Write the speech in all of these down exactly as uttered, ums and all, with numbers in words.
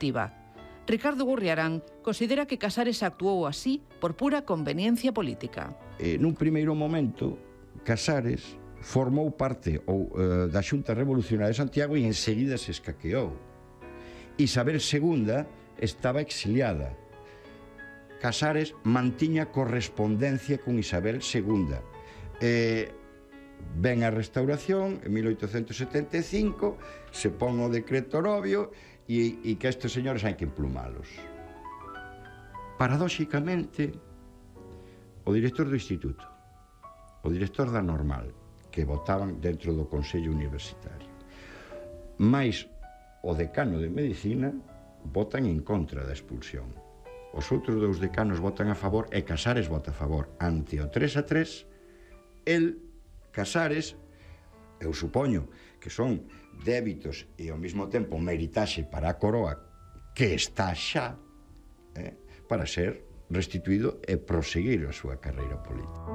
definitiva. Ricardo Gurriarán considera que Casares actuou así por pura conveniencia política. Eh, nun primeiro momento, Casares formou parte ou, eh, da Xunta Revolucionaria de Santiago e enseguida se escaqueou. Isabel segunda estaba exiliada. Casares mantiña correspondencia con Isabel segunda. Eh, ven a Restauración en mil oitocentos setenta e cinco, se pon o decreto Orovio e, e que estes señores hai que emplumalos. Paradóxicamente, o director do instituto, o director da normal, que votaban dentro do Consello Universitario, máis o decano de Medicina, votan en contra da expulsión. Os outros dous decanos votan a favor e Casares vota a favor. Ante o tres a tres, el, Casares, eu supoño que son débitos e ao mesmo tempo meritaxe para a coroa que está xa eh, para ser restituído e proseguir a súa carreira política.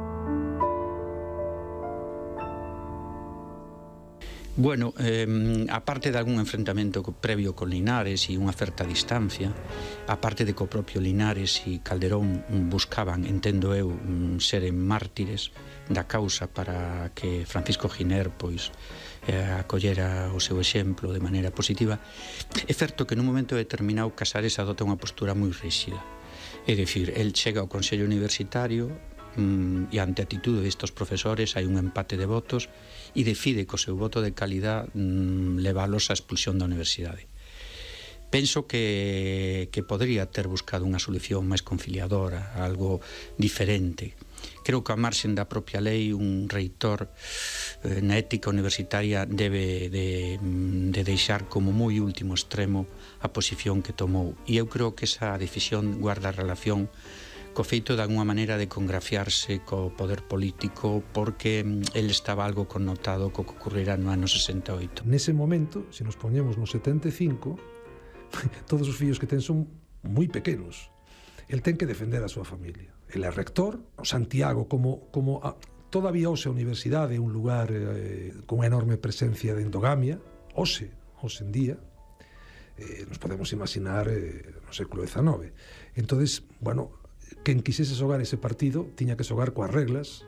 Bueno, eh, aparte de algún enfrentamento previo con Linares e unha certa distancia, aparte de que o propio Linares e Calderón buscaban, entendo eu, seren mártires da causa para que Francisco Giner pois eh, acollera o seu exemplo de maneira positiva, é certo que nun momento determinado Casares adota unha postura moi ríxida. É dicir, el chega ao Consello Universitario e ante a atitude destes profesores hai un empate de votos e decide co seu voto de calidad mmm, leválos á expulsión da universidade. Penso que, que podría ter buscado unha solución máis conciliadora, algo diferente. Creo que a marxen da propia lei un reitor eh, na ética universitaria debe de, de deixar como moi último extremo a posición que tomou, e eu creo que esa decisión guarda relación co feito de alguma maneira de congraciarse co poder político, porque el estaba algo connotado co que ocurrirá no ano sesenta e oito. Nese momento, se nos poñemos no setenta e cinco, todos os fillos que ten son moi pequenos. El ten que defender a súa familia. El é rector, o Santiago, como, como a, todavía hoxe a universidade é un lugar eh, con enorme presencia de endogamia, hoxe, hoxe en día, eh, nos podemos imaginar eh, no século dezenove. Entonces, bueno, quen quisese xogar ese partido tiña que xogar coas reglas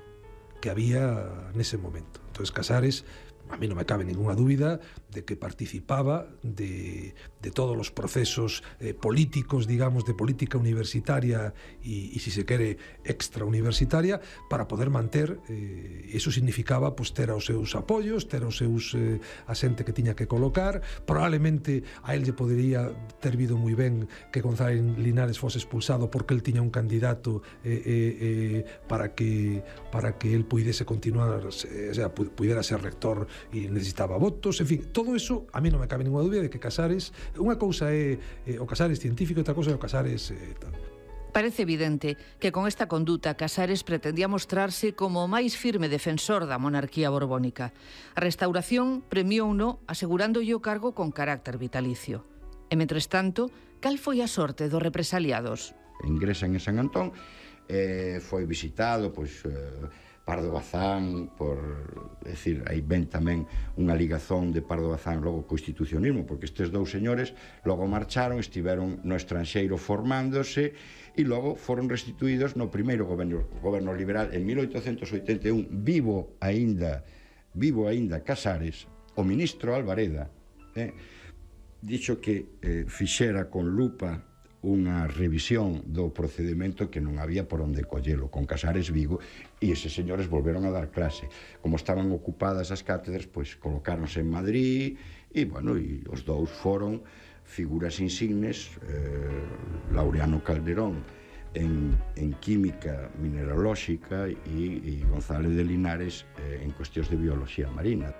que había nese momento. Entón, Casares, a mí non me cabe ninguna dúbida de que participaba de, de todos os procesos eh, políticos, digamos, de política universitaria e, e si se quere, extrauniversitaria, para poder manter, eh, eso significaba pues, ter os seus apoios, ter os seus eh, a xente que tiña que colocar. Probablemente a él lle podería ter vido moi ben que González Linares fose expulsado porque él tiña un candidato eh, eh, eh, para que para que él puidese continuar, o sea, pudera ser rector e necesitaba votos, en fin, todo eso a mí non me cabe ninguna dúbida de que Casares, unha cousa é eh, o Casares científico e outra cousa é o Casares eh, tal. Parece evidente que con esta conduta Casares pretendía mostrarse como o máis firme defensor da monarquía borbónica. A Restauración premiouno asegurándolle o cargo con carácter vitalicio. E, mentres tanto, cal foi a sorte dos represaliados? Ingresan en San Antón, eh, foi visitado, pois... Eh, Pardo Bazán, por decir, aí ven tamén unha ligazón de Pardo Bazán logo co institucionismo, porque estes dous señores logo marcharon, estiveron no estranxeiro formándose e logo foron restituídos no primeiro goberno, goberno liberal en mil oitocentos oitenta e un, vivo aínda vivo aínda Casares, o ministro Alvareda eh, dixo que eh, fixera con lupa unha revisión do procedimento que non había por onde collelo con Casares vivo, e eses señores volveron a dar clase. Como estaban ocupadas as cátedras, pois colocáronse en Madrid e, bueno, e os dous foron figuras insignes, eh, Laureano Calderón en, en química mineralóxica e, e González de Linares eh, en cuestións de biología marina.